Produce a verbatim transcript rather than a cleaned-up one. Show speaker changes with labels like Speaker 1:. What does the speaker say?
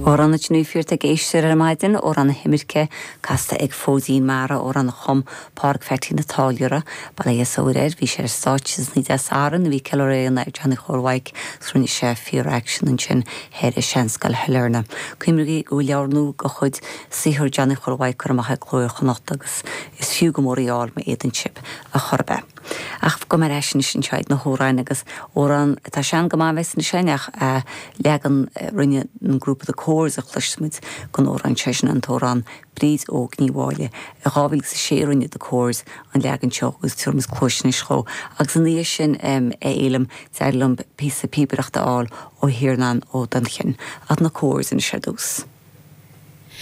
Speaker 1: Amhrán ní fírt ag éisteacht ar maidin Amhrán na hImirce casta ag Fóidín Mara amhrán a chum Pádraig Pheaitín an Táilliúra Baile air bhí sé ar stáitse ní Sathairn bhí ceiliúradh ar Johnny Chóil Mhaidhc rinne sé fíor-aicsean ansin thoir i Seanscoil Shailearna. Cuimhnigí go leabhar nua de chuid saothar Johnny Chóil Mhaidhc curtha amach ag Cló Iar-Chonnacht agus is fiú go mór é a fháil má fhéadann sibh a chor be. Ach go mar sin sin seo na hamhráin agus amhrán atá sean go maith sin seach leagan rinne an grúpa The Corrs a chloisfimid den amhrán sé sin an t-amhrán Bríd Óg Ní Mháille i dhá mhíle sé rinne The Corrs an leagan seo agus tumas cloisnis cho agus an ní sin é élam deirlumm pí píbereachta áil ó hiarnán ó don chin at na Corrs in sé dús.